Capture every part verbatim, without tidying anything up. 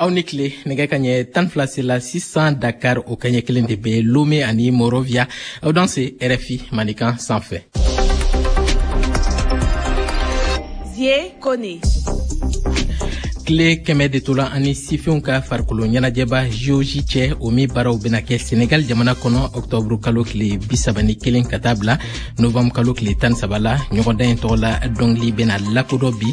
Aw ni tile. Nɛgɛ ka ɲɛ tan fila sela sisan Dakar, o kaɲɛ kelen de bɛ Lome ani Monrovia. Aw danse R F I Mandenkan sanfɛ. Zie Kone. Tile kɛmɛ de tola ani sifinw ka farikolo ɲɛnajɛba J O J cɛ, o min baaraw bena kɛ Senegal jamana kɔnɔ ɔktɔburu kalo tile bisaba ni kelen ka taa bila novanburu kalo tile tan saba la. Ɲɔgɔndan in tɔgɔ la dɔngili bena lakodɔn bi.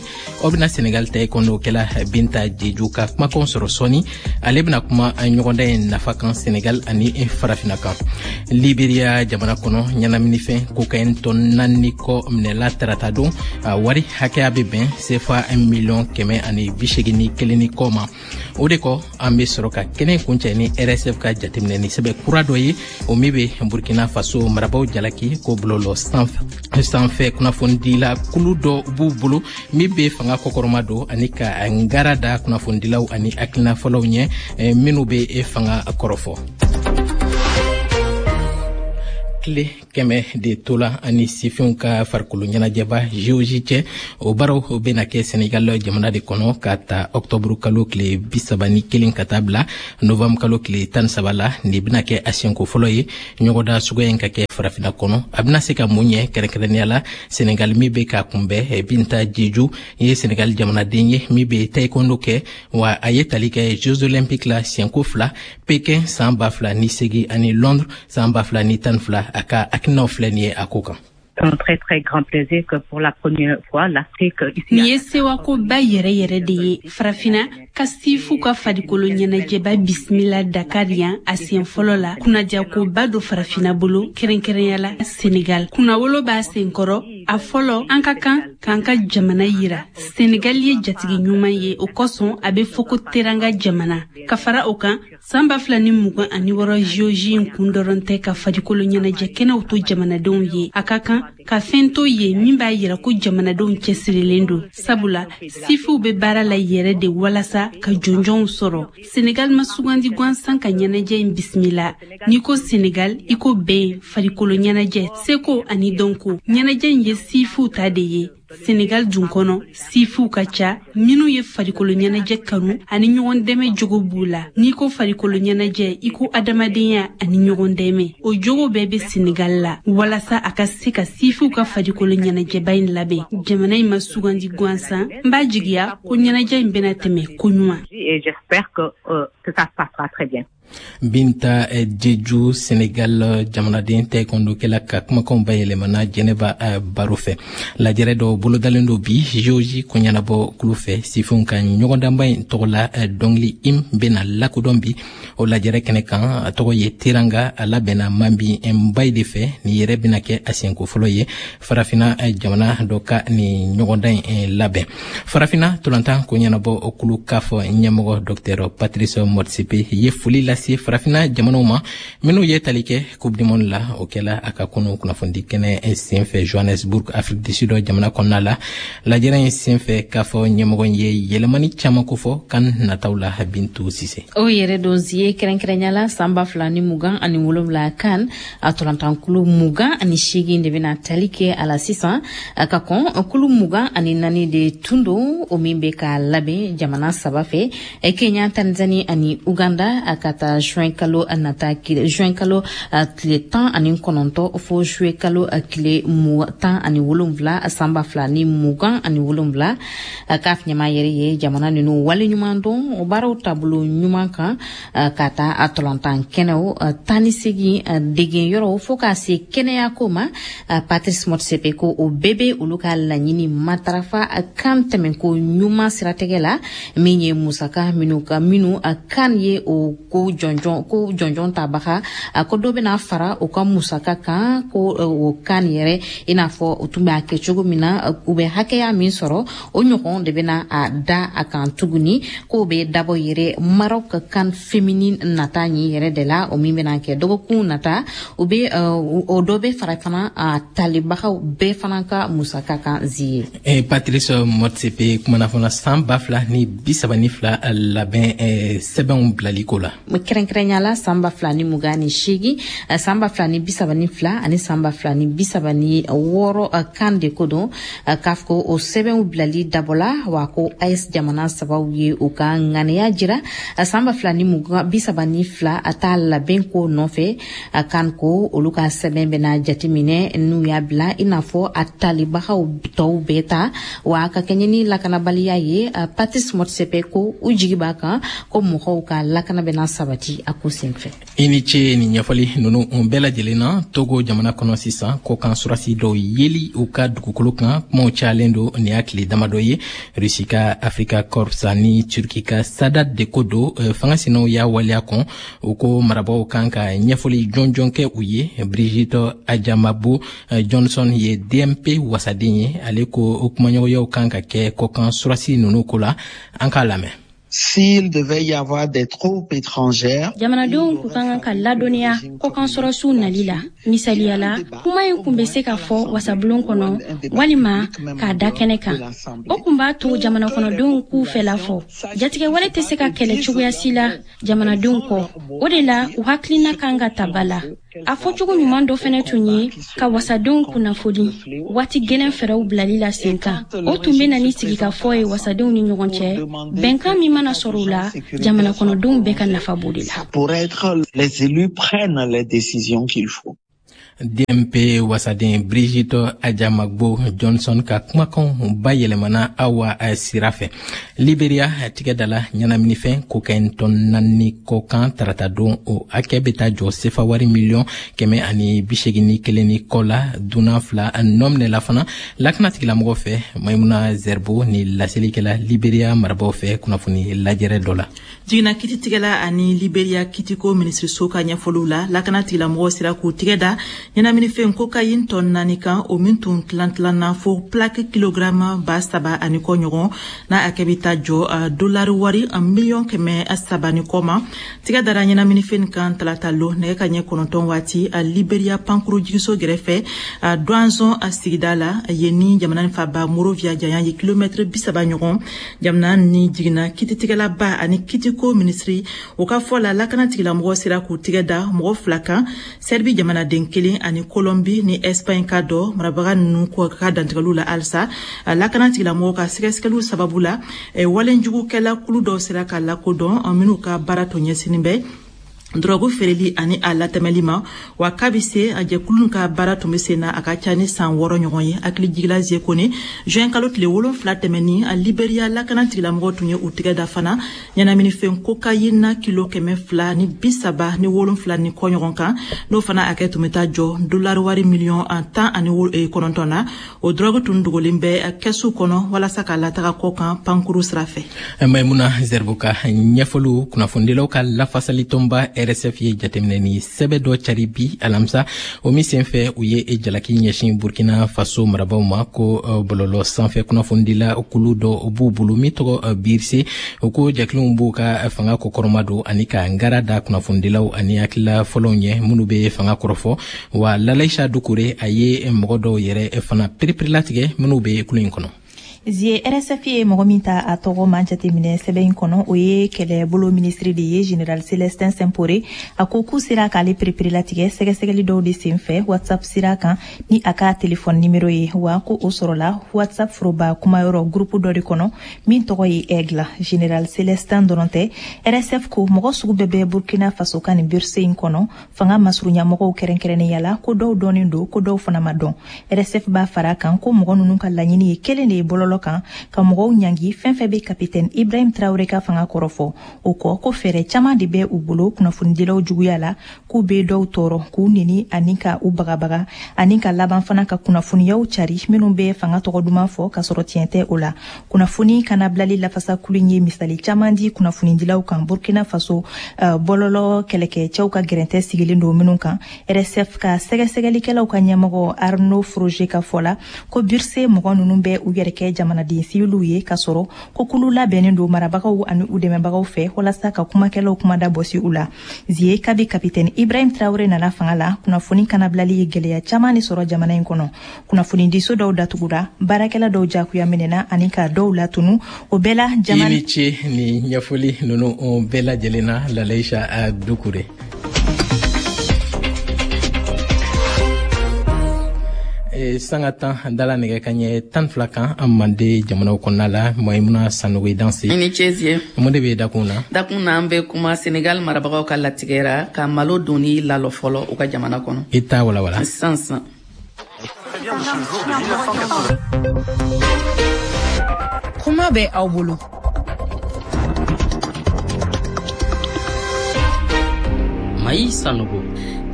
Aw bena Senegal taekwondo kɛla Binta Jeju ka kumakanw sɔrɔ sɔɔni. Ale bena kuma ɲɔgɔndan in nafa kan Senegal ani Farafina kan. Liberia jamana kɔnɔ, ɲɛnaminifɛn cocaïne tɔn naani kɔ minɛla tarata don. A wari hakɛya be bɛn sefa miliyɔn kɛmɛ ani bi ni kelen ni kɔ ma. O de kɔ, an be sɔrɔ ka kɛnɛ kuncɛ ni R S F ka jateminɛni sɛbɛ kura dɔ ye, o min be Burkina Faso marabaw jalaki ko bɔlɔlɔ sanfɛ kunnafonidila kulu dɔ b'u bolo min be fanga kɔkɔrɔma don ani ka ngara da kunnafonidilaw ani hakilinafɔlaw ɲɛ minw be fanga kɔrɔfɔ. Tile kɛmɛ de tola ani sifinw ka farikolo ɲɛnajɛba J O J cɛ. O baaraw bena kɛ Senegal jamana de kɔnɔ ka ta ɔktɔburu kalo tile bisaba ni kelen ka taa bila novanburu kalo tile tan saba la. Nin bena kɛ a siɲɛko fɔlɔ ye ɲɔgɔnda suguya in ka kɛ Farafina kɔnɔ. A bena se ka mun ɲɛ, kɛrɛnkɛrɛnnenya la Senegal min be ka kunbɛn? Binta Jeju ye Senegal jamanaden ye min be taekwondo kɛ, wa a ye tali kɛ Jeux Olympiques la siɲɛko fila, Pekin san ba fila ni segi ani Londres san ba fila ni tan fila. A ka hakilinaw filɛ nin ye a ko kan. Un très très grand plaisir que pour la première fois l'Afrique ici. Nin ye sewakoba yɛrɛ yɛrɛ de ye, Farafina ka sifu ka farikolo ɲɛnajɛba bisimila Dakar yan a siɲɛ fɔlɔ la. Kunnajakoba do Farafina bolo, kɛrɛnkɛrɛnya la Senegal. Kunnawolo b'a senkɔrɔ. A fɔlɔ, an ka kan k'an ka jamana yira. Senegal ye jatigi ɲuman ye, o kosɔn a be fɔ ko teranga jamana. Ka fara o kan, san ba fila ni mugan ani wɔrɔ J O J in kun dɔrɔn tɛ ka farikolo ɲɛnajɛ kɛnɛw to jamanadenw ye. A ka kan ka fɛn to ye min b'a yira ko jamanadenw cɛsirilen don, sabula sifiw be baara la yɛrɛ de walasa ka jɔnjɔnw sɔrɔ. Senegal ma sugandi gansan ka ɲɛnajɛ in bisimila. N'i ko Senegal, i ko bɛn, farikolo ɲɛnajɛ, seko ani dɔnko. Ɲɛnajɛ in ye sifiw ta de ye. Senegal dun kɔnɔ, sifiw ka ca minw ye farikolo ɲɛnajɛ kanu ani ɲɔgɔn dɛmɛ jogo b'u la. N'i ko farikolo ɲɛnajɛ, i ko adamadenya ani ɲɔgɔn dɛmɛ. O jogo bɛɛ be Senegal la walasa a ka se ka sifiw ka farikolo ɲɛnajɛba in labɛn. Jamana in ma sugandi gansan. N b'a jigiya ko ɲɛnajɛ in bena tɛmɛ koɲuman. Et j'espère que, euh, que ça se passera très bien. Binta Jeju, Senegal jamanaden taekwondokɛla ka kumakanw bayɛlɛmana Jɛnɛba Baro fɛ. Lajɛrɛ dɔ bolodalen do bi J O J koɲanabɔ kulu fɛ. Sifinw ka ɲɔgɔndanba in tɔgɔ la dɔngili im bena lakodɔn bi o lajɛrɛ kɛnɛ kan. A tɔgɔ ye Teranga. A labɛnna Mambi Nbayi de fɛ. Nin yɛrɛ bena kɛ a siɲɛko fɔlɔ ye Farafina jamana dɔ ka nin ɲɔgɔndan in labɛn. Farafina tolantan koɲanabɔ kulu CAF ɲɛmɔgɔ Docteur Patrice Motsepe ye foli lase Farafina jamanaw ma minw ye tali kɛ Coupe du monde la. O kɛla a ka kunu kunnafonidi kɛnɛ sen fɛ Johannesburg, Afrique du Sud jamana kɔnɔna la. Lajɛrɛ in sen fɛ, k'a fɔ ɲɛmɔgɔ ye yɛlɛmani caaman kofɔ kan nataw la. Bintu Sise. O yɛrɛ don ye, kɛrɛnkɛrɛnya la san ba fila ni mugan ani wolonwula kan a tɔlantankulu mugan ani seegin de bɛna tali kɛ a la sisan, ka kɔn kulu mugan ani naani de tun don, o min bɛ ka labɛn jamana saba fɛ, Kenya, Tanzanie ani Uganda, a ka taa juin kalo nata, juin kalo tile tan ani kɔnɔntɔn fo juillet kalo tile tan ani wolonwula san ba fila ni mugan ani wolonwula. CAF ɲɛmaa yɛrɛ ye jamana ninnu waleɲuman dɔn o baaraw taabolo ɲuman kan, ka taa a tɔlɔntan kɛnɛw tan ni segin degen yɔrɔw fo k'a se kɛnɛyako ma. Patrice Motsepe ko o bɛɛ bɛ olu ka laɲini matarafa kan tɛmɛko ɲuman siratigɛ la. Min ye musaka minnu ka minnu kan ye o ko jɔnjɔn ko jɔnjɔn tabaga, ko dɔ bɛna fara u ka musaka kan, ko o kan yɛrɛ, i n'a fɔ u tun b'a kɛ cogo min na, u bɛ hakɛya min sɔrɔ, o ɲɔgɔn de bɛna a da a kan tuguni. K'o bɛ dabɔ yɛrɛ Maroc ka CAN féminine nata ɲi yɛrɛ de la, o min bɛna kɛ dɔgɔkun nata. O bɛ o dɔ bɛ fara fana a talibagaw bɛɛ fana ka musaka kan zi ye. Patrice Motsepe kumana fana san ba fila ni bi saba ni fila labɛn sɛbɛnw bilali ko la. Kɛrɛnkɛrɛnya la san ba fila ni mugan ni seegin, san ba fila ni bi saba ni fila ani san ba fila ni bi saba ni wɔɔrɔ kan de ko don. C A F ko o sɛbɛnw bilali dabɔla wa ko A E S jamana sabaw ye u ka ŋaniya jira san ba fila ni mugan bi saba ni fila a t'a labɛn ko nɔfɛ. Kan ko olu ka sɛbɛn bɛna jateminɛ n'u y'a bila i n'a fɔ a talibagaw tɔw bɛɛ ta. Wa ka kɛɲɛ ni lakanabaliya ye, Patrice Motsepe ko u jigi b'a kan ko mɔgɔw ka lakana bɛna sabati a ko senfɛ. I ni ce ni ɲɛfɔli nunu bɛɛ lajɛlen na. Togo jamana kɔnɔ sisan, kɔkan surasi dɔw yeli u ka dugukolo kan, kumaw cayalen don nin y'a tile damadɔ ye. Rusi ka Africa Corps ni Turki ka Sadat de ko don. Fanga sinaw y'a waleya kɔn, u ko marabaw kan ka ɲɛfɔli jɔnjɔn kɛ u ye. Brigitte Adjamagbo Johnson ye D M P wasaden ye. Ale ko kumaɲɔgɔnyaw kan ka kɛ kɔkan surasi nunu ko la. An k'a lamɛn. S'il devait y avoir des troupes étrangères, Jamanadenw kun ka kan ka ladɔnniya kɔkan sɔrɔsiw nali la. Misaliya la, kuma in kun bɛ se ka fɔ wasabulon kɔnɔ walima k'a da kɛnɛ kan. O kun b'a to jamana kɔnɔdenw k'u fɛla fɔ. Jatigɛwale tɛ se ka kɛlɛ cogoya si la jamanadenw kɔ. O de la u hakilina kan ka ta ba la. A fɔcogo ɲuman dɔ fɛnɛ tun ye ka wasadenw kunnafoni waati gwɛlɛn fɛɛrɛw bilali la sen kan. O tun bɛ na ni sigikafɔ ye wasadenw ni ɲɔgɔn cɛ. Bɛnkan min mana sɔrɔ o la, jamana kɔnɔdenw bɛɛ ka nafa b'o de la. Pour être les élus prennent les décisions qu'il faut. D M P wasaden Brigitte Adjamagbo Johnson ka kumakanw bayɛlɛmana Awa sira fɛ. Liberia tigɛ dala ɲɛnaminifɛn cocaïne tɔn naani kɔkan tarata don. O hakɛ bɛ taa jɔ sefa wari miliyɔn kɛmɛ ani bisegin ni kelen ni kɔ la. Dunan fila nɔ minɛla fana lakana tigilamɔgɔ fɛ. Maimuna Zerbo ni laselikɛla Liberia marabaw fɛ kunnafoni lajɛrɛ dɔ la. Jiginna kititigɛla ani Liberia kitiko minisiriso ka ɲɛfɔliw la, lakana tigilamɔgɔw sera k'u tigɛ da ɲɛnaminifɛn cocaïne tɔn naani kan, o min tun tilan tilanna fo plaque kilogramma ba saba ani kɔ ɲɔgɔn, n'a hakɛ bɛ taa jɔ dolari wari miliyɔn kɛmɛ saba ni kɔ ma. Tigɛ dara ɲɛnaminifɛn kan talata lo nɛgɛ ka ɲɛ kɔnɔntɔn waati Liberia pankuru jigiso gɛrɛfɛ Douanzon sigida la, yen ni jamana faba Monrovia janya ye kilomɛtiri bi saba ɲɔgɔn. Jamana ni jiginna kititigɛlaba ani kitiko minisiri o ka fɔ la, lakana tigilamɔgɔ sera k'u tigɛ da mɔgɔ fila kan, Sɛribi jamanaden kelen ani Kolɔnbi ni Ɛsipaɲi ka dɔ. Marabaga ninnu ka dantigɛliw la halisa, lakana tigilamɔgɔw ka sɛgɛsɛgɛliw sababu la, walenjugukɛla kulu dɔw sera ka lakodɔn, minnu ka baara tun ɲɛsinin bɛ dɔrɔgu feereli ani a latɛmɛli ma. Wa k'a bɛ se a jɛkulu ka baara tun bɛ sen na a ka ca ni san wɔɔrɔ ɲɔgɔn ye. Hakili jigila Zekone, juin kalo tile wolonfila tɛmɛni, a Liberia lakana tigilamɔgɔw tun ye u tigɛ da fana ɲɛnaminifɛn cocaïne kilo kɛmɛ fila ni bi saba ni wolonfila ni kɔ ɲɔgɔn kan, n'o fana hakɛ tun bɛ taa jɔ dolari wari miliyɔn tan ani kɔnɔntɔn na. O dɔrɔgu tun dogolen bɛ kɛsu kɔnɔ walasa k'a lataga kɔ kan pankuru sira fɛ. Maimuna Zerbo ka ɲɛfɔliw. Kunnafonidilaw ka lafasali tɔnba R S F ye jateminɛ ni sɛbɛ dɔ cari bi alamisa, o min senfɛ u ye jalaki ɲɛsin Burkina Faso marabaw ma ko bɔlɔlɔ sanfɛ kunnafonidila kulu dɔ b'u bolo min tɔgɔ Birse. O ko jɛkuluw b'u ka fanga kɔkɔrɔma don ani ka ngara da kunnafonidilaw ani hakilila fɔlɔw ɲɛ minnu bɛ fanga kɔrɔfɔ. Wa Lalaisa Dukure, a ye mɔgɔ dɔw yɛrɛ fana pereperelatigɛ minnu bɛ kulu in kɔnɔ. Zie, R S F ye mɔgɔ min ta a tɔgɔ man jateminɛ sɛbɛn in kɔnɔ, o ye kɛlɛbolo minisiri de ye, général Célestin Simpore. A ko k'u sera k'ale pereperelatigɛ sɛgɛsɛgɛli dɔw de sen fɛ WhatsApp sira kan ni a ka telefɔni nimero ye. Wa ko o sɔrɔla WhatsApp foroba kumayɔrɔ groupe dɔ de kɔnɔ min tɔgɔ ye Aigle. Général Célestin dɔrɔn tɛ, R S F ko mɔgɔ sugu bɛɛ bɛ Burkina Faso ka nin B I R S E in kɔnɔ, fanga masurunyamɔgɔw kɛrɛnkɛrɛnnenya la, ko dɔw dɔnnen don, ko dɔw fana ma dɔn. R S F b'a fara kan ko mɔgɔ ninnu ka laɲini ye kelen de ye bɔlɔlɔ kan ka mɔgɔw ɲangi fɛn fɛn bɛ capitaine Ibrahim Traoré ka fanga kɔrɔfɔ. O kɔ, ko fɛɛrɛ caman de bɛ u bolo kunnafonidilaw juguya la, k'u bɛ dɔw tɔɔrɔ, k'u neni ani ka u bagabaga, ani ka laban fana ka kunnafoniyaw cari minnu bɛ fanga tɔgɔ duman fɔ k'a sɔrɔ tiɲɛ tɛ o la. Kunnafoni kana bilali lafasakulu ye misali caman di kunnafonidilaw kan Burkina Faso, uh, bɔlɔlɔ kɛlɛkɛcɛw ka gɛrɛntɛ sigilen don minnu kan. R S F ka sɛgɛsɛgɛlikɛlaw ka ɲɛmɔgɔ Arnaud Froger ka fɔ la, ko B I R S E mɔgɔ ninnu bɛ u yɛrɛ kɛ jamana jamanaden siviliw ye, k'a sɔrɔ ko kulu labɛnnen don marabagaw ani u dɛmɛbagaw fɛ walasa ka kumakɛlaw kumada bɔsi u la. Zie, kabi kapitɛni Ibrahim Traoré nana fanga la, kunnafoni kanabilali ye gɛlɛya caman de sɔrɔ jamana in kɔnɔ. Kunnafonidiso dɔw datugura, baarakɛla dɔw jagoya minɛna ani ka dɔw latunu. O bɛɛ la jamana. I ni ce ni ɲɛfɔli ninnu bɛɛ lajɛlen na, Lalaïcha Doucouré. Sanga tan dala nɛgɛ ka ɲɛ tan fila kan an mande jamanaw kɔnɔna la. Maïmouna Sanogo, danse. I ni ce Zie. Mun de bɛ dakun na? Dakun na, an bɛ kuma Senegal marabagaw ka latigɛra ka malo donni lalɔ fɔlɔ u ka jamana kɔnɔ. I t'a walawala. Sisan sisan. Kuma bɛ aw bolo. Maï Sanogo.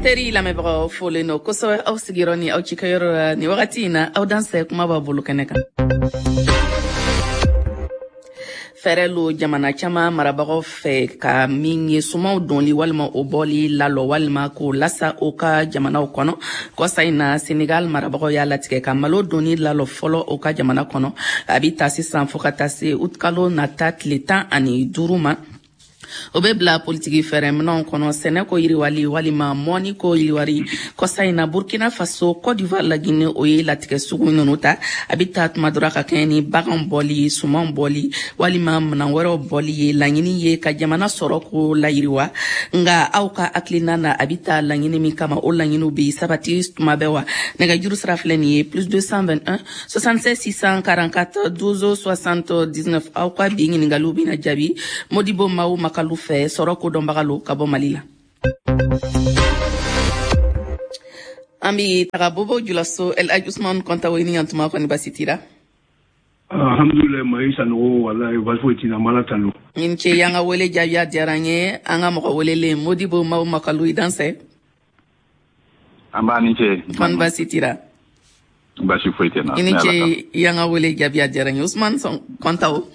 Teri lamɛnbagaw, folen don kosɛbɛ aw sigiyɔrɔ ni aw cikɛyɔrɔ la nin wagati in na. Aw dansɛ, kuma b'a bolo kɛnɛ kan. Fɛɛrɛ lo jamana caman marabagaw fɛ ka min ye sumanw dɔnli walima o bɔli lalɔ walima k'o lasa o ka jamanaw kɔnɔ. Kɔsa in na, Senegal marabagaw y'a latigɛ ka malo donni lalɔ fɔlɔ o ka jamana kɔnɔ. A bi ta sisan fo ka taa se utikalo nata tile tan ani duuru ma. O bɛ bila politiki fɛɛrɛminɛnw kɔnɔ, sɛnɛ ko yiriwali walima mɔni ko yiriwari. Kɔsa in na, Burkina Faso, Côte d'Ivoire, Laginɛ, o ye latigɛ sugu ninnu ta. A bɛ ta tuma dɔ ka kɛɲɛ ni bagan bɔli, suman bɔli walima minan wɛrɛw bɔli ye. Laɲini ye ka jamana sɔrɔ ko layiriwa. Nka aw ka hakilina na, a bɛ ta laɲini min kama, o laɲiniw bɛ sabati tuma bɛɛ wa? Nɛgɛjuru sira filɛ nin ye: plus deux cent vingt et un soixante-seize six cent quarante-quatre douze soixante-dix-neuf. Aw ka bi ɲininkaliw bɛna jaabi Modibo Maw Makalu fɛ, sɔrɔ ko dɔnbaga lo ka bɔ Mali la. An bi taga Bobo Julaso, El Hadj Ousmane Kontawo, i ni yantuma, kɔni basi t'i la? Alhamdulilayi, Mayi Sanogo, walayi basi foyi t'i la, n b'Ala tanu. I ni ce y'an ka wele jaabi, a diyara n ye. An ka mɔgɔ welelen Modibo Maw Makalu, i dansɛ. An b'a ni ce. Kɔni basi t'i la? Basi foyi tɛ n na. I ni ce y'an ka wele jaabi, a diyara n ye. Ousmane Kontawo,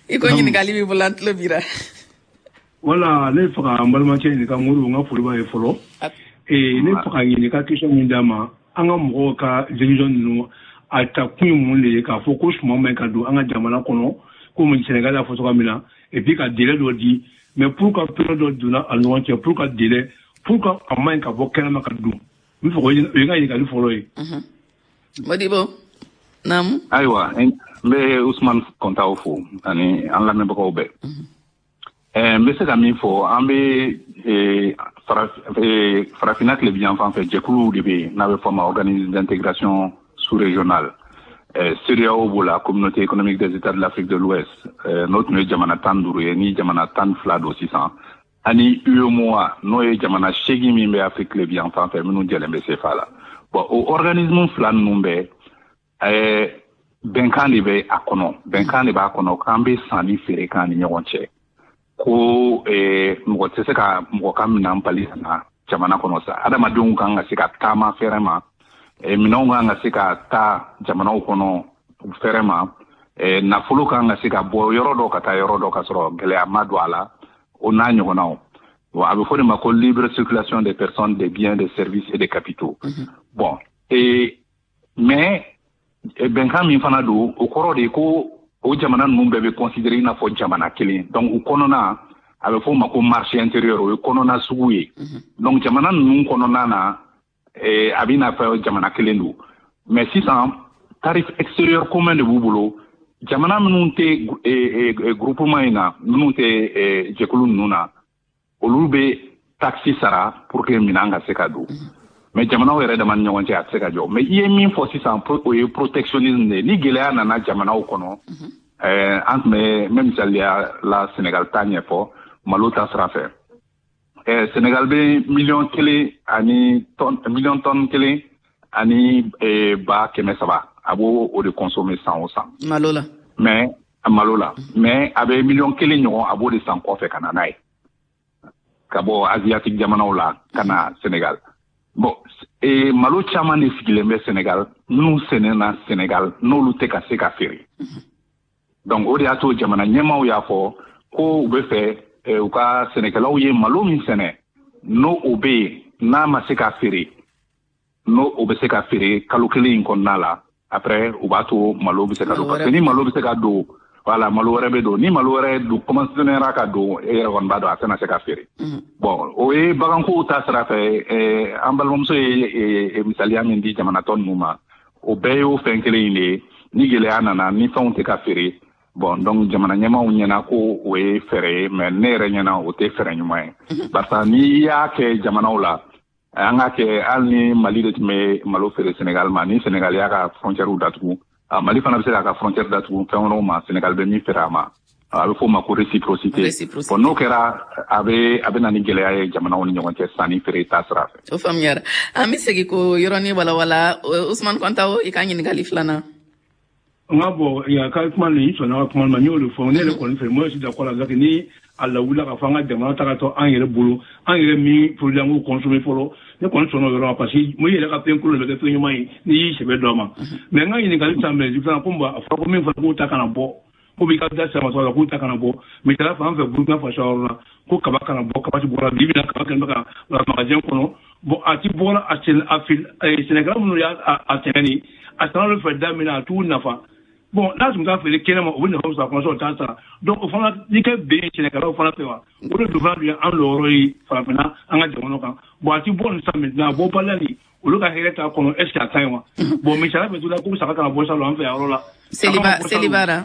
i ko ɲininkali b'i bolo, an tulo b'i la. Wala, ne fɛ ka n balimakɛ ɲininka, Modibo, n ka foli b'a ye fɔlɔ. Ee, ne fɛ ka ɲininka, question min d'a ma, an ka mɔgɔw ka décision ninnu, a ta kun ye mun de ye k'a fɔ ko suman man ɲi ka don an ka jamana kɔnɔ, komi Sénégal y'a fɔ cogoya min na, et puis ka délai dɔ di? Mais pour ka période dɔ donna a ɲɔgɔn cɛ pour ka délai, pour ka a man ɲi ka bɔ kɛnɛma ka don? N bɛ fɛ k'o o ye n ka ɲininkali fɔlɔ ye. Modibo, naamu. Ayiwa, n bɛ Ousmane Kontawo fo ani an lamɛnbagaw bɛɛ. N bɛ se ka min fɔ, an bɛ farafinna tilebinyan fan fɛ, jɛkuluw de bɛ yen n'a bɛ fɔ a ma Organisme d'intégration sous-régionale. CEDEAO b'o la, Communauté économique des États de l'Afrique de l'Ouest, n'o tun ye jamana tan duuru ye, ni jamana tan fila don sisan, ani UEMOA, n'o ye jamana seegin min bɛ Afrique tilebinyan fan fɛ, minnu jɛlen bɛ C F A la. Bon, o organisme fila ninnu bɛɛ, bɛnkan de bɛ a kɔnɔ, bɛnkan de b'a kɔnɔ k'an bɛ san ni feere k'an ni ɲɔgɔn cɛ, ko mɔgɔ tɛ se ka mɔgɔ ka minɛn bali ka na jamana kɔnɔ sa. Adamadenw kan ka se ka taama fɛrɛ ma, minɛnw kan ka se ka taa jamanaw kɔnɔ fɛrɛ ma, nafolo kan ka se ka bɔ yɔrɔ dɔ ka taa yɔrɔ dɔ ka sɔrɔ gɛlɛya ma don a la, o n'a ɲɔgɔnnaw. Bon, a bɛ fɔ de ma ko libre circulation des personnes, des biens, des services et des capitaux. Bon, et mais bɛnkan min fana don, o kɔrɔ de ko o jamana ninnu bɛɛ bɛ considérer i n'a fɔ jamana kelen. Donc u kɔnɔna, a bɛ fɔ o ma ko marché intérieur, o ye kɔnɔna sugu ye. Donc jamana ninnu kɔnɔna na, a bɛ n'a fɔ jamana kelen don. Mais sisan, tarif extérieur commun de b'u bolo. Jamana minnu tɛ groupement in na, minnu tɛ jɛkulu ninnu na, olu bɛ taxe sara pour que minɛn ka se ka don. Mais jamanaw yɛrɛ dama ni ɲɔgɔn cɛ, a tɛ se ka jɔ. Mais i ye min fɔ sisan, o ye protectionnisme de ye. Ni gɛlɛya nana jamanaw kɔnɔ, an tun bɛ n bɛ misaliya la Sénégal ta ɲɛfɔ malo ta sira fɛ. Sénégal bɛ miliyɔn kelen ani tɔn, miliyɔn tɔn kelen ani ba kɛmɛ saba, a b'o o de consommer san o san. Malo la. Mais malo la, mais a bɛ miliyɔn kelen ɲɔgɔn, a b'o de san kɔfɛ ka na n'a ye ka bɔ asiatique jamanaw la ka na Sénégal. Bon, e malo caman de sigilen bɛ Sénégal, minnu sɛnɛna Sénégal, n'olu tɛ ka se ka feere. Donc o de y'a to jamana ɲɛmaaw y'a fɔ ko u bɛ fɛ u ka sɛnɛkɛlaw ye malo min sɛnɛ, n'o o bɛ yen, n'a ma se ka feere, n'o o bɛ se ka feere kalo kelen in kɔnɔna la, Après u b'a to malo bɛ se ka don, parce que ni malo bɛ se ka don, voilà, malo wɛrɛ bɛ don. Ni malo wɛrɛ don commencera ka don, e yɛrɛ kɔni b'a dɔn a tɛna se ka feere. Bon, o ye bagankow ta sira fɛ. An balimamuso ye misaliya min di jamana tɔ ninnu ma, o bɛɛ y'o fɛn kelen in de ye. Ni gɛlɛya nana, ni fɛnw tɛ ka feere, bon, donc jamana ɲɛmaaw ɲɛna ko o ye fɛɛrɛ ye, mais ne yɛrɛ ɲɛna o tɛ fɛɛrɛ ɲuman ye, barisa n'i y'a kɛ jamanaw la, an k'a kɛ hali ni Mali de tun bɛ malo feere Sénégal ma, ni Sénégal y'a ka frontière datugu, Mali fana bɛ se k'a ka frontière datugu fɛn wɛrɛw ma Sénégal bɛ min feere a ma. A bɛ f'o ma ko réciprocité. Bon, n'o kɛra, a bɛ a bɛ na ni gɛlɛya ye jamanaw ni ɲɔgɔn cɛ sanni feere ta sira fɛ. O faamuyara. An bɛ segin k'o yɔrɔnin walawala. Ousmane Kontawo, i ka ɲininkali filanan. N ka bɔ yan ka kuma nin sɔnna ka kuma ma, n y'o de fɔ. Ne yɛrɛ kɔni fɛ, moi je suis d'accord avec ni a lawulila k'a fɔ an ka jamana ta ka to an yɛrɛ bolo, an yɛrɛ min produit an k'o consommer fɔlɔ. Ne kɔni sɔnna o yɔrɔ ma, parce que mun yɛrɛ ka fɛn kolon de bɛ kɛ fɛn ɲuman ye n'i y'i sɛbɛ dɔ ma. Mais n ka ɲininkali ta mɛ fana, komi a fɔra ko min fɔra k'o ta kana bɔ, ko b'i ka da sira ma la k'u ta kana bɔ. Misaliya fɛ, an fɛ Burukina Faso yɔrɔ la, ko kaba kana bɔ, kaba ti bɔra bi bi na, kaba kɛlen bɛ ka magasin kɔnɔ. Bon, a ti bɔra a sɛnɛ a fil sɛnɛkɛla minnu y'a a sɛnɛ nin a sɛnɛ olu fɛ da min na, a t'u nafa. Bon, n'a tun t'a feere kɛnɛ ma, o bɛ nafa sɔrɔ a kɔnɔ, o t'a sara. Donc o fana n'i kɛ ben sɛnɛkɛlaw fana fɛ wa, o de dun fana dun ye an lɔyɔrɔ ye farafinna an ka jamana kan. Bon, a ti bɔ nin sisan maintenant, a bɔbaliya nin olu ka hɛrɛ t'a kɔnɔ, est ce que a ka ɲi wa? Bon, misaliya fɛ tuguni, ko saga kana bɔ salon an fɛ yan yɔrɔ la. Seliba, Selibara.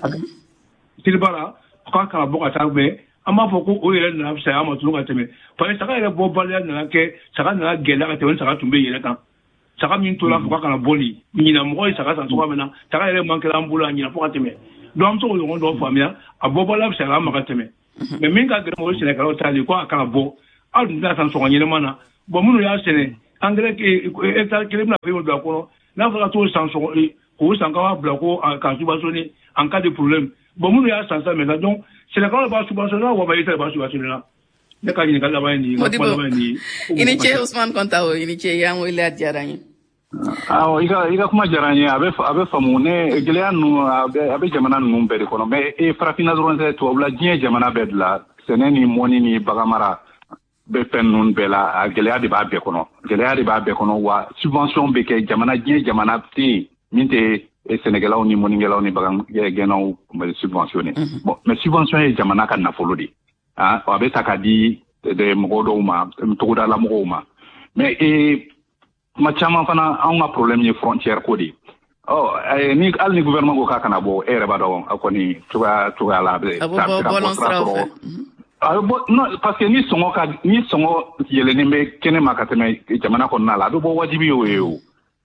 Selibara k'a kana bɔ ka taa bɛɛ, an b'a fɔ ko o yɛrɛ nana fisaya ma tuguni ka tɛmɛ, parce que saga yɛrɛ bɔbaliya nana kɛ saga nana gɛlɛya ka tɛmɛ ni saga tun bɛ yɛrɛ kan. Saga min tora fo k'a kana bɔ nin ɲinan, mɔgɔ ye saga san cogoya min na, saga yɛrɛ man kɛra an bolo a ɲinan fo ka tɛmɛ. Donc an bɛ se k'o ɲɔgɔn dɔ faamuya, a bɔbaliya fisayara an ma ka tɛmɛ. Mais min ka gɛlɛn, o ye sɛnɛkɛlaw ta de ye, ko a kana bɔ. Aw dun tɛna san sɔngɔ ɲɛnama na. Bon, minnu y'a sɛnɛ, engrais hectare kelen bɛna fɛn don a kɔnɔ, n'a fɔra t'o san sɔngɔ k'o san k'a b'a bila ko k'a subventionner en cas de problème. Bon, minnu y'a san sisan maintenant, donc sɛnɛkɛlaw b'a subventionner wa e ta b'a subventionner la. Ne ka ɲininkali laban ye nin ye, n ka kuma laban ye nin ye. I ni ce Ousmane Kontawo, i ni ce, y'an wele, a diyara n ye. Awɔ, i ka i ka kuma diyara n ye. A bɛ a bɛ faamu ne gɛlɛya ninnu a bɛ a bɛ jamana ninnu bɛɛ de kɔnɔ, mais e farafinna dɔrɔn tɛ, tubabula diɲɛ jamana bɛɛ de la, sɛnɛ ni mɔni ni baganmara bɛ fɛn ninnu bɛɛ la, a gɛlɛya de b'a bɛɛ kɔnɔ, gɛlɛya de b'a bɛɛ kɔnɔ. Wa subvention bɛ kɛ jamana, diɲɛ jamana tɛ yen min tɛ sɛnɛkɛlaw ni mɔnikɛlaw ni bagangɛnnaw subventionné. Bon, mais subvention ye jamana ka nafolo de ye, a bɛ ta ka di mɔgɔ dɔw ma, togodala mɔgɔw ma. Mais ee kuma caman fana, anw ka problème ye frontière ko de ye. Ɔ ni hali ni gouvernement ko k'a kana bɔ, e yɛrɛ b'a dɔn a kɔni cogoya cogoya la a bɛ a bɛ bɔ bɔlɔn siraw fɛ. A bɛ bɔ non, parce que ni sɔngɔ ka ni sɔngɔ yɛlɛnnen bɛ kɛnɛ ma ka tɛmɛ jamana kɔnɔna la, a bɛ bɔ, wajibi y'o ye, o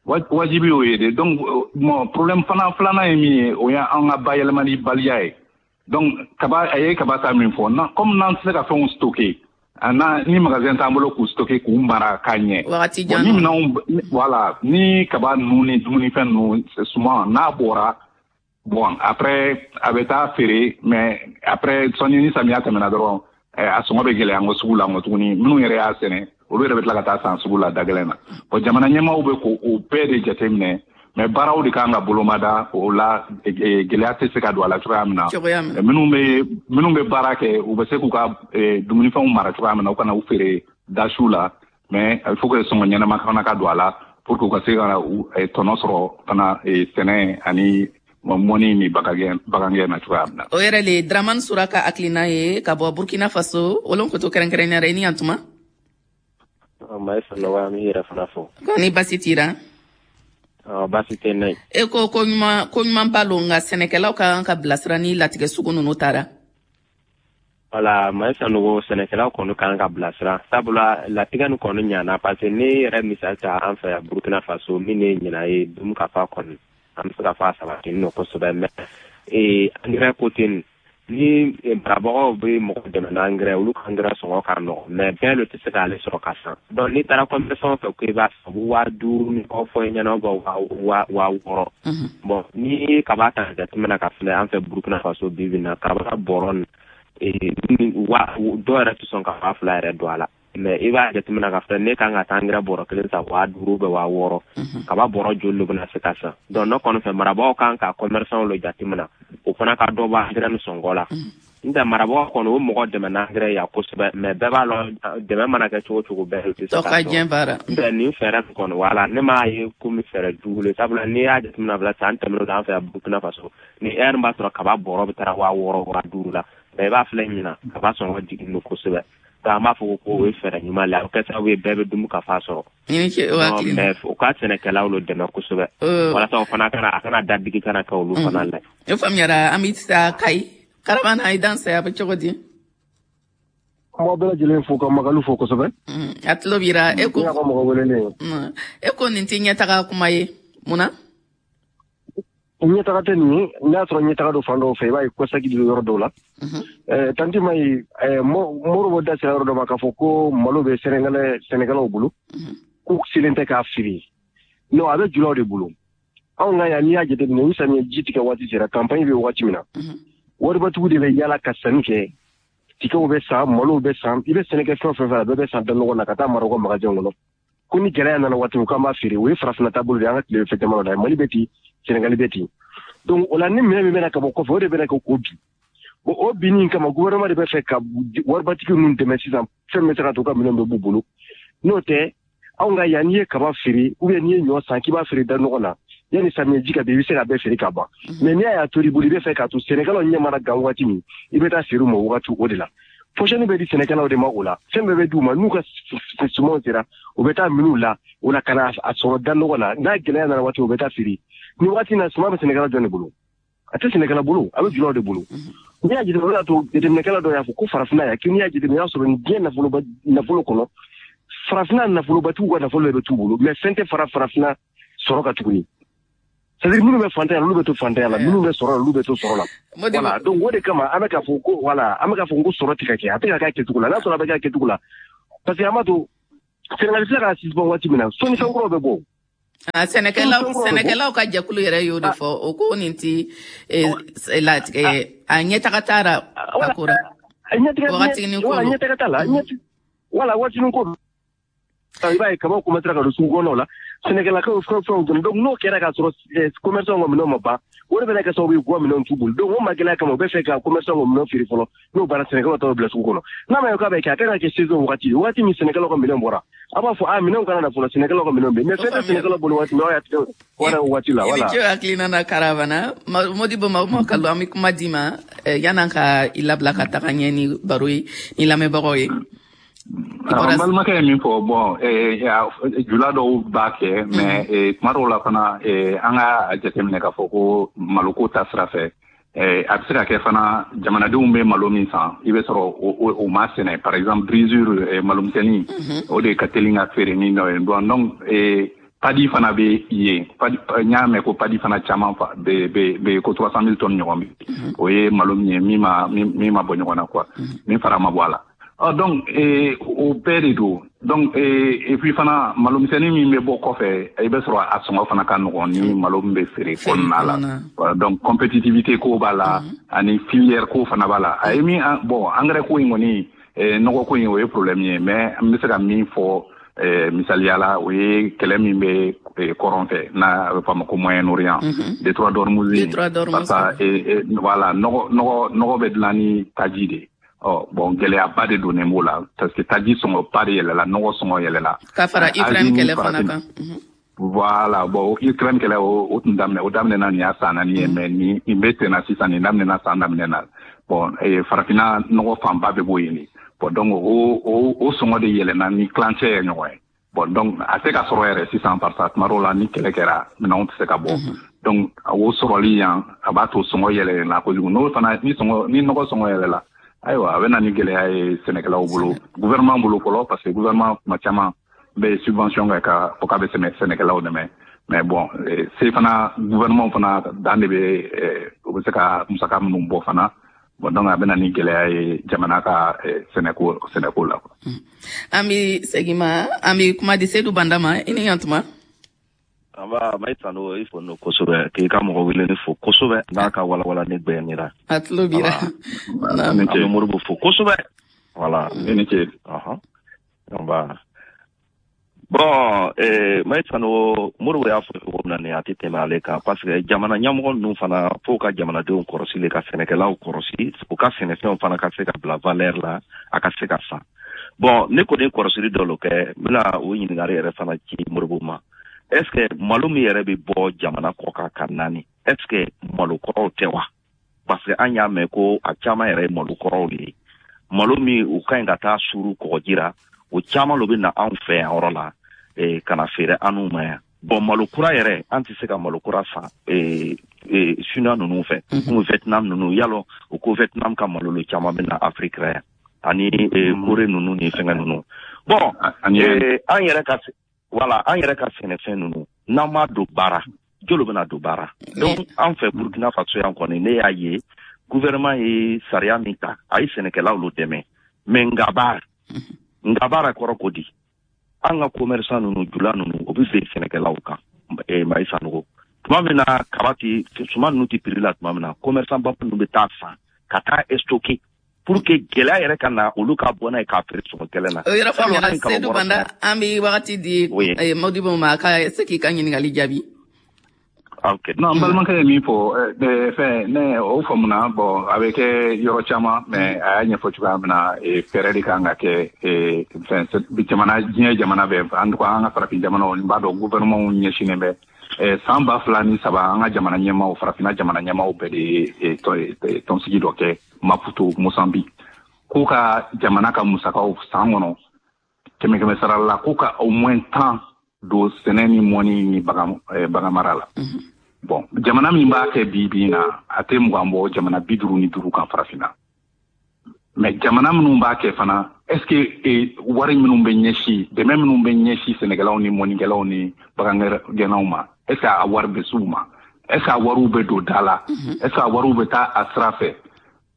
wajibi y'o ye de. Donc bon, problème fana filanan ye min ye, o ye an ka bayɛlɛmali baliya ye. Donc kaba, a ye kaba ta min fɔ na, comme n'an tɛ se ka fɛnw stocker, na ni magasin t'an bolo k'u stocker, k'u mara k'a ɲɛ wagati jan, ni minɛnw, voilà, ni kaba ninnu ni dumunifɛn ninnu suman n'a bɔra, bon, après a bɛ taa feere, mais après sɔnni ni samiya tɛmɛna dɔrɔn, a sɔngɔ bɛ gɛlɛya an ko sugu la n ko tuguni. Minnu yɛrɛ y'a sɛnɛ, olu yɛrɛ bɛ tila ka taa san sugu la da gɛlɛn na. Bon, jamana ɲɛmaaw bɛ k'o bɛɛ de jateminɛ, mais baaraw de kan ka bolomada o la, gɛlɛya tɛ se ka don a la cogoya min na. Minnu bɛ minnu bɛ baara kɛ, u bɛ se k'u ka dumunifɛnw mara cogoya min na, u kana u feere dasiw la, mais il faut que sɔngɔ ɲɛnama fana ka don a la pour que u ka se ka tɔnɔ sɔrɔ fana sɛnɛ ani mɔni ni bagangɛn na cogoya min na. O yɛrɛ le Dramane Sura ka hakilina ye ka bɔ Burkina Faso, Wolonkoto kɛrɛnkɛrɛnnenya la. I ni yan tuma. Maïssa Nɔgɔya, an b'i yɛrɛ fana fo. Ko ni basi t'i ra? Baasi tɛ n na. E ko ko ɲuman ko ɲuman ba lo, nka sɛnɛkɛlaw ka kan ka bilasira ni latigɛ sugu ninnu taara. Wala, Maïssa Nogo, sɛnɛkɛlaw kɔni kan ka bilasira, sabula latigɛ nin kɔni ɲana, parce que ne yɛrɛ misali ta an fɛ yan Burkina Faso, min ye ɲinan ye dumu ka fa kɔni, an bɛ se ka fɔ a sabatinin don kosɛbɛ. Mais ee engrais côté nin, ni marabagaw bɛ mɔgɔ dɛmɛ na engrais, olu ka engrais sɔngɔ ka nɔgɔn, mais bɛɛ lo tɛ se k'ale sɔrɔ ka san. Donc n'i taara commerçant fɛ ko i b'a san, u bɛ waa duuru ni kɔ fɔ i ɲɛna, waa waa wɔɔrɔ. Bon, ni ye kaba ta jateminɛ ka filɛ an fɛ Burkina Faso bi bi in na, kaba bɔrɔ nin wa dɔw yɛrɛ tɛ sɔn ka waa fila yɛrɛ don a la. Mais i b'a jateminɛ k'a fɔ ne kan ka taa angɛrɛ bɔrɔ kelen san waa duuru bɛ waa wɔɔrɔ, kaba bɔrɔ joli de bɛna se ka san? Donc ne kɔni fɛ, marabagaw kan ka commerçant lo jateminɛ, o fana ka dɔ bɔ angɛrɛ ni sɔngɔ la. N tɛ marabagaw kɔni o mɔgɔ dɛmɛ n'angɛrɛ ya kosɛbɛ, mais bɛɛ b'a lɔn, dɛmɛ mana kɛ cogo cogo, bɛɛ tɛ se ka sɔrɔ. N tɛ nin fɛɛrɛ kɔni, wala ne m'a ye komi fɛɛrɛ jugu le, sabula n'i y'a jateminɛ bila san tɛmɛnenw la, an fɛ yan Burkina Faso, ni heure b'a sɔrɔ kaba bɔrɔ bɛ taara waa wɔɔrɔ, waa duuru la, mais i b'a filɛ ɲinan, kaba sɔngɔ jiginnen don kosɛbɛ. An b'a fɔ ko o ye fɛɛrɛ ɲuman la, o kɛ sababu ye bɛɛ bɛ dumu ka fa sɔrɔ. Mais u ka sɛnɛkɛlaw lo dɛmɛ kosɛbɛ walasa o fana kana a kana dadigi kana kɛ olu fana la. O faamuyara. An bɛ taa Kayi. Karamana, i danse, a bɛ cogo di? N b'aw bɛɛ lajɛlen fo ka Magalu fo kosɛbɛ. A tulo b'i ra. E ko ne y'a ka mɔgɔ welelen ye. E ko nin tɛ ɲɛtaga kuma ye, mun na? Ɲɛtaga tɛ nin ye. N'a sɔrɔ ɲɛtaga don fan dɔw fɛ, i b'a ye kɔsagi don yɔrɔ dɔw la. Tanti ma ye, Moribo da sera yɔrɔ dɔ ma k'a fɔ ko malo bɛ sɛnɛkɛlaw bolo, k'u selen tɛ k'a feere. Non, a bɛ julaw de bolo. Anw ka yan, n'i y'a jateminɛ, ni samiyɛ ji tigɛ waati sera, campagne bɛ waati min na, waribatigiw de bɛ yala ka sanni kɛ. Tigaw bɛ san, malow bɛ san, i bɛ sɛnɛ kɛ fɛn o fɛn fɛ, a bɛɛ bɛ san da ɲɔgɔn na ka taa mara u ka magasin kɔnɔ. Ko ni gɛlɛya nana waati min, k'an b'a feere. O ye farafinna taabolo de ye, an ka tile fɛ jamana la. Mali bɛ ten, Senegali bɛ ten. Donc o la, ni minɛn min bɛna ka bɔ kɔfɛ, o de bɛna kɛ k'o bin. Bon, o binni kama, gouvernement de bɛ fɛ ka waribatigi ninnu dɛmɛ sisan, fɛn bɛ se ka to u ka minɛnw bɛ b'u bolo. N'o tɛ, anw ka yan, n'i ye kaba feere ou bien n'i ye ɲɔ san k'i b'a feere da ɲɔgɔn na, yanni samiyɛ ji ka bin, i bɛ se ka bɛɛ feere ka ban. Mais n'i y'a to i bolo, i bɛ fɛ k'a to sɛnɛkɛlaw ɲɛ mana gan waati min, i bɛ taa feere u ma wagati o de la. Fourchette bɛ di sɛnɛkɛlaw de ma o la, fɛn bɛɛ bɛ d'u ma. N'u ka sumanw sera, u bɛ taa minnu la o la ka na a sɔrɔ da nɔgɔ la. N'a gɛlɛya nana waati, u bɛ taa feere. Ni waati na, suman bɛ sɛnɛkɛla jɔn de bolo? A tɛ sɛnɛkɛla bolo, a bɛ julaw de bolo. N'i y'a jateminɛ, o de y'a to jateminɛkɛla dɔ y'a fɔ ko farafinna yan, n'i y'a jateminɛ, i y'a sɔrɔ nin diɲɛ nafoloba nafolo kɔnɔ, farafinna nafolobatigiw ka nafolo de bɛ t'u bolo, mais fɛn tɛ fara farafinna sɔrɔ kan tuguni. C'est-à-dire minnu bɛ fantanya la, olu bɛ to fantanya la, minnu bɛ sɔrɔ la, olu bɛ to sɔrɔ la. Voilà, donc o de kama an bɛ k'a fɔ ko, voilà, an bɛ k'a fɔ ko sɔrɔ tɛ ka kɛ, a tɛ ka kɛ a kɛcogo la. N'a sɔrɔ a bɛ kɛ a kɛcogo la, parce que an b'a to Sénégal filɛ k'a suspend waati min na, sɔnnifɛn kuraw bɛ bɔ. Sɛnɛkɛlaw sɛnɛkɛlaw ka jɛkulu yɛrɛ y'o de fɔ, o ko nin ti latigɛ, a ɲɛtaga t'a la a ko la. Wagatinin ko don. Ɲɛtaga t'a la. Voilà, waatinin ko don. I b'a ye kabaw commencera ka don sugu kɔnɔnaw la, sɛnɛkɛlakaw fɛn fɛnw dɔn. Donc n'o kɛra k'a sɔrɔ commerçant ka minɛnw ma ban, o de bɛna kɛ sababu ye k'u ka minɛnw t'u bolo. Donc o magɛlɛya kama, u bɛ fɛ ka commerçant ka minɛnw feere fɔlɔ, n'o banna, sɛnɛkɛlaw t'o bila sugu kɔnɔ. N'a ma ye k'a bɛ kɛ, a kan ka kɛ saison wagati, waati min sɛnɛkɛlaw ka minɛnw bɔra, a b'a fɔ a minɛnw kana na fɔlɔ, sɛnɛkɛlaw ka minɛnw bɛ yen, mais fɛn tɛ sɛnɛkɛlaw bolo waati min, aw y'a tigɛ wara o waati la. Voilà. I ni ce hakilina na, Karavana Modibo Makalu. An bɛ kuma d'i ma yan'an ka i labila ka taga ɲɛ ni baro ye ni lamɛnbagaw ye. N balimakɛ ye min fɔ, bon, jula dɔw b'a kɛ, mais tuma dɔw la fana, an ka jateminɛ k'a fɔ ko maloko ta sira fɛ, a bɛ se ka kɛ fana jamanadenw bɛ malo min san, i bɛ sɔrɔ o ma sɛnɛ. Par exemple brisure, malomisɛnnin, o de ka teli ka feere ni dɔ ye. Donc paddy fana bɛ yen, n y'a mɛn ko paddy fana caman bɛ bɛ ko trois cent mille tonnes ɲɔgɔn bɛ, o ye malo min ye min ma min ma bɔ ɲɔgɔn na quoi, min fara ma bɔ a la. Ah, donc o bɛɛ de don. Donc et puis fana, malomisɛnnin min bɛ bɔ kɔfɛ, i bɛ sɔrɔ a sɔngɔ fana ka nɔgɔn ni malo min bɛ feere kɔnɔna la. Donc compétitivité ko b'a la, ani filière ko fana b'a la. A ye min, bon, engrais ko in kɔni, nɔgɔ ko in, o ye problème ye, mais an bɛ se ka min fɔ misaliya la, o ye kɛlɛ min bɛ kɔrɔn fɛ, n'a bɛ fɔ a ma ko Moyen-Orient, détroit d'Ormuz. Parce que voilà, nɔgɔ nɔgɔ nɔgɔ bɛ dilan ni taji de ye. Ɔ bon, gɛlɛyaba de donnen b'o la, parce que taji sɔngɔba de yɛlɛla, nɔgɔ sɔngɔ yɛlɛla. Ka fara Ukraine kɛlɛ fana kan. Voilà, bon, Ukraine kɛlɛ, o tun daminɛ, o daminɛna nin y'a san naani ye, mais nin nin bɛ sen na sisan, nin daminɛna san daminɛ na. Bon, farafinna nɔgɔ fanba bɛ bɔ yen de. Bon, donc o o o sɔngɔ de yɛlɛnna ni tilancɛ ye ɲɔgɔn ye. Bon, donc a tɛ ka sɔrɔ yɛrɛ sisan, parce que tuma dɔw la, ni kɛlɛ kɛra, minɛnw tɛ se ka bɔ. Donc o sɔrɔli yan, a b'a to sɔngɔ yɛlɛnna kojugu. N'o fana ni sɔngɔ ni nɔgɔ sɔngɔ yɛlɛla, ayiwa, a bɛ na ni gɛlɛya ye sɛnɛkɛlaw bolo, gouvernement bolo fɔlɔ, parce que gouvernement tuma caman bɛ subvention kɛ ka fɔ k'a bɛ sɛnɛkɛlaw dɛmɛ. Mais bon, se fana gouvernement fana dan de bɛ, u bɛ se ka musaka minnu bɔ fana. Bon, donc a bɛ na ni gɛlɛya ye jamana ka sɛnɛko sɛnɛko la. An bɛ segin ma, an bɛ kuma di Seydou Banda ma. I ni ɲantuma. An b'a Mayi Sano, i fo no kosɛbɛ, k'i ka mɔgɔ weleli fo kosɛbɛ n'a ka walawala ne gbɛnira. A tulo b'i la. An bɛ Moribo fo kosɛbɛ. Voilà. I ni ce. Nba. Bon, eh, Mayi Sanogo, Modibo y'a fɔ cogo min na nin, a tɛ tɛmɛ ale kan, parce que jamana ɲɛmɔgɔ ninnu fana, fo ka jamanadenw kɔrɔsi le, ka sɛnɛkɛlaw kɔrɔsi, u ka sɛnɛfɛnw fana ka se ka bila valeur la, a ka se ka san. Bon, ne kɔni kɔrɔsili dɔ lo kɛ, n bɛna o ɲininkali yɛrɛ fana ci Modibo ma. Est ce que malo min yɛrɛ bɛ bɔ jamana kɔ kan ka na ni, est ce que malo kɔrɔw tɛ wa? Parce que an y'a mɛn ko a caman yɛrɛ ye malo kɔrɔw de ye. Malo min u ka ɲi ka taa suru kɔgɔji ra, o caman lo bɛ na anw fɛ yan yɔrɔ la, eh, ka na feere an n'u ma yan. Bon, malo kura yɛrɛ, an tɛ se ka malo kura san eh, eh, Chinois ninnu fɛ, komi Vietnam ninnu. Yalɔ u ko Vietnam ka malo lo caman bɛ na Afrique la yan, ani eh, Corée ninnu ni fɛngɛ ninnu. Bon, eh, an yɛrɛ ka, voilà, an yɛrɛ ka sɛnɛfɛn ninnu, n'an m'a don baara, jolo bɛna don baara? Donc an fɛ Burkina Faso yan kɔni, ne y'a ye gouvernement ye sariya min ta, a ye sɛnɛkɛlaw lo dɛmɛ, mais nga baara nga baara kɔrɔ ko di, an ka commerçant ninnu, jula ninnu, o bɛ ben sɛnɛkɛlaw kan. eh, Mayi Sanogo, tuma min na kaba ti, suman ninnu ti prix la, tuma min na commerçant ba ninnu bɛ taa san ka taa stocker pour que gɛlɛya yɛrɛ ka na, olu ka bɔ n'a ye k'a feere sɔngɔ gɛlɛn na. O yɔrɔ faamuyara, Seydou Banda. An bɛ wagati di Modibo ma, a ka se k'i ka ɲininkali jaabi. Ok. Non, n balimakɛ ye min fɔ, fɛn ne o faamuna. Bon, a bɛ kɛ yɔrɔ caman, mais a y'a ɲɛfɔ cogoya min na, fɛɛrɛ de kan ka kɛ. Fɛn jamana, diɲɛ jamana bɛɛ, en tout cas an ka farafin jamanaw, n b'a dɔn gouvernement ɲɛsinnen bɛ. San ba fila ni saba, an ka jamana ɲɛmaaw, farafinna jamana ɲɛmaaw bɛɛ de ye tɔnsigi dɔ kɛ Maputo, Mozambique, k'u ka jamana ka musakaw san kɔnɔ, kɛmɛ kɛmɛ sara la, k'u ka au moins tan don sɛnɛ ni mɔni ni bagan bagan mara la. Bon, jamana min b'a kɛ bi bi in na, a tɛ mugan bɔ jamana bi duuru ni duuru kan farafinna. Mais jamana minnu b'a kɛ fana, est ce que wari minnu bɛ ɲɛsin, dɛmɛ minnu bɛ ɲɛsin sɛnɛkɛlaw ni mɔnikɛlaw ni bagangɛnnaw ma, est ce que a wari bɛ s'u ma? Est ce que a wariw bɛ don da la? Est ce que a wariw bɛ taa a sira fɛ?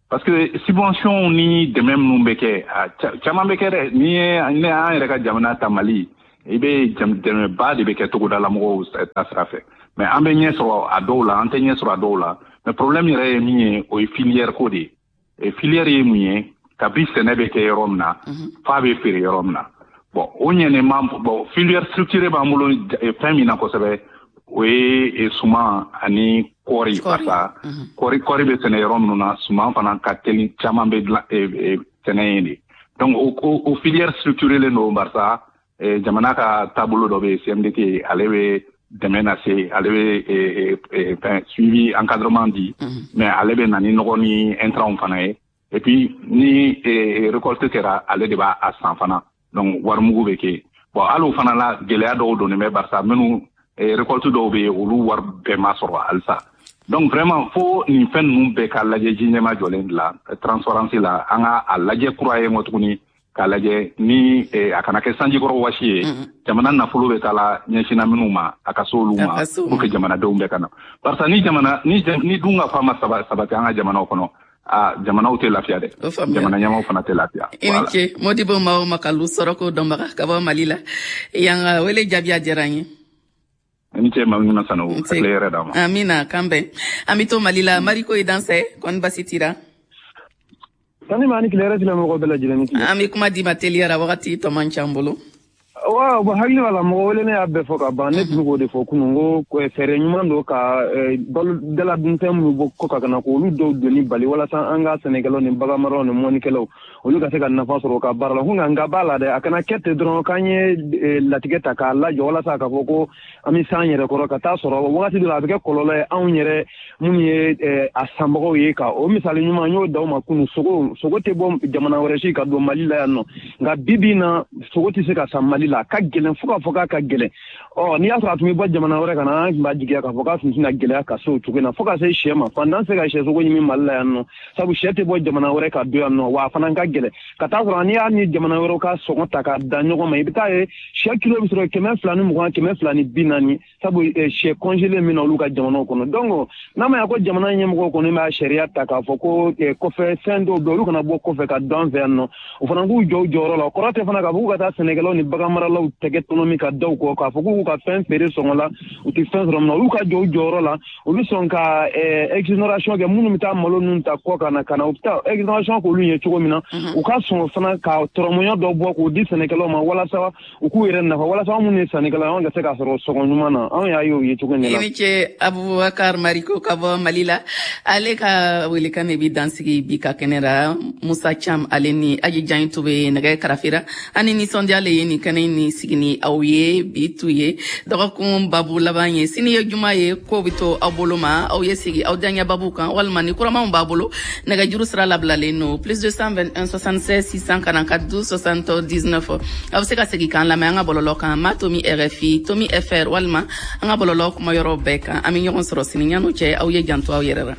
Parce que subvention ni dɛmɛ minnu bɛ kɛ, a caman bɛ kɛ dɛ. N'i ye ne an yɛrɛ ka jamana ta, Mali, i bɛ dɛmɛba de bɛ kɛ togodala mɔgɔw ta sira fɛ, mais an bɛ ɲɛ sɔrɔ a dɔw la, an tɛ ɲɛ sɔrɔ a dɔw la. Mais problème yɛrɛ ye min ye, o ye filière ko de ye. Filière ye mun ye? Kabi sɛnɛ bɛ kɛ yɔrɔ min na f'a bɛ feere yɔrɔ min na. Bon, o ɲɛnen ma. Bon, filière structurée b'an bolo fɛn min na kosɛbɛ, o ye suman ani kɔɔri, parce que kɔɔri kɔɔri bɛ sɛnɛ yɔrɔ minnu na, suman fana ka teli, caman bɛ dilan sɛnɛ yen de. Donc o o filière structurée len don, barisa jamana ka taabolo dɔ bɛ yen, C M D T, ale bɛ dɛmɛ lase, ale bɛ fɛn suivi, encadrement di, mais ale bɛ na ni nɔgɔ ni intrants fana ye. Et puis ni récolte kɛra, ale de b'a san fana, donc warimugu bɛ kɛ. Bon, hali o fana la, gɛlɛya dɔw donnen bɛ, barisa minnu récolte dɔw bɛ yen, olu wari bɛɛ ma sɔrɔ halisa. Donc vraiment, fo nin fɛn ninnu bɛɛ ka lajɛ ji ɲɛma jɔlen de la, transparence la. An ka a lajɛ kura ye kɔ tuguni k'a lajɛ ni a kana kɛ sanjikɔrɔ wasi ye. Jamana nafolo bɛ taa la ɲɛsinna minnu ma, a ka se olu ma, pour que jamanadenw bɛɛ ka na, barisa ni jamana ni ni dun ka fa ma sabati an ka jamanaw kɔnɔ, a jamanaw tɛ lafiya dɛ, jamana ɲɛmaaw fana tɛ lafiya. I ni ce, Modibo Mao Makalu, sɔrɔko dɔnbaga ka bɔ Mali la yan, ka wele jaabi a diyara n ye. I ni ce, Maimuna Sanogo, ka tile yɛrɛ d'a ma. Amina, k'an bɛn. An bɛ to Mali la, Mariko i dansɛ, kɔni basi tira? Sani ma ni tile yɛrɛ, tile mɔgɔ bɛɛ lajɛlen ni tile. An bɛ kuma d'i ma teliyara, wagati tɔ man ca an bolo. Wa bon, hakili b'a la, mɔgɔ wele ne y'a bɛɛ fɔ ka ban. Ne tun bɛ k'o de fɔ kunun, ko fɛɛrɛ ɲuman don ka balo dala dunfɛn minnu bɔ kɔ ka na, k'olu dɔw donni bali, walasa an ka sɛnɛkɛlaw ni baganmaraw ni mɔnikɛlaw, olu ka se ka nafa sɔrɔ u ka baara la. Ko nka nka b'a la dɛ, a kana kɛ ten dɔrɔn k'an ye latigɛ ta k'a lajɔ walasa k'a fɔ ko an bɛ s'an yɛrɛ kɔrɔ, ka taa sɔrɔ wagati dɔ la a bɛ kɛ kɔlɔlɔ ye anw yɛrɛ minnu ye a sanbagaw ye. Ka o misali ɲuman n y'o d'aw ma kunun, sogo sogo tɛ bɔ jamana wɛrɛ si ka don Mali la yan nɔ, nka bi bi in na sogo tɛ se ka san Mali la, a ka gɛlɛn fo k'a fɔ k'a ka gɛlɛn. Ɔ n'i y'a sɔrɔ a tun bɛ bɔ jamana wɛrɛ ka na, an tun b'a jigiya k'a fɔ k'a tun tɛna gɛlɛya ka se o cogo in na, fo ka se sɛ ma. Fantan tɛ se ka sɛ sogo ɲimi Mali la yan nɔ, sabu sɛ tɛ bɔ jamana wɛrɛ ka don yan nɔ, wa a fana ka gɛlɛn. Ka taa sɔrɔ n'i y'a ni jamana wɛrɛw ka sɔngɔ ta k'a da ɲɔgɔn ma, i bɛ taa ye sɛ kilo bɛ sɔrɔ kɛmɛ fila ni mugan, kɛmɛ fila ni bi naani, sabu sɛ congelé min na olu ka jamanaw kɔnɔ. Donc n'a ma ɲɛ ko jamana ɲɛmɔgɔw kɔni b'a sariya ta k'a fɔ ko kɔfɛ fɛn dɔw bɛ olu kana bɔ kɔfɛ ka don an fɛ yan nɔ, o fana k'u jɔ u jɔyɔrɔ la. O kɔrɔ tɛ fana k'a fɔ k'u ka taa sɛnɛkɛlaw ni baganmaralaw maralaw tɛgɛ tɔnɔmi ka da u kɔ k'a fɔ k'u ka fɛn feere sɔngɔ la, u tɛ fɛn sɔrɔ min na, olu ka jɔ u jɔyɔrɔ la. Olu sɔn ka exonération kɛ minnu bɛ taa malo ninnu ta kɔ ka na ka na u bɛ taa exonération k'olu ye cogo min na, u ka sɔn fana ka tɔrɔmɔɲɔ dɔ bɔ k'o di sɛnɛkɛlaw ma walasa u k'u yɛrɛ nafa, walasa anw minnu ye sannikɛlaw, anw ka se k'a sɔrɔ sɔngɔ ɲuman na. Anw y'a ye o ye cogo min na. I ni ce, Abubakar Mariko ka bɔ Mali la. Ale ka welekan de bi dansigi bi ka kɛnɛ la. Musa Cam, ale ni Aji Jan to bɛ nɛgɛ karafera. Ani nisɔndiya le ye nin kɛnɛ ni sigi ni aw ye bi tu ye dɔgɔkun babu laban ye. Sini ye juma ye, ko bɛ to aw bolo ma, aw ye sigi aw diyaɲɛ babu kan walima ni kuramanw b'a bolo, nɛgɛjuru sira labilalen no plus deux cent vingt et un soixante-seize six cent quarante-quatre douze soixante-dix-neuf. Aw bɛ se ka segin k'an lamɛn an ka bɔlɔlɔ kan, ma tomi R F I tomi F R walima an ka bɔlɔlɔ kumayɔrɔ bɛɛ kan. An bɛ ɲɔgɔn sɔrɔ sini. Ɲan'o cɛ, aw ye janto aw yɛrɛ la.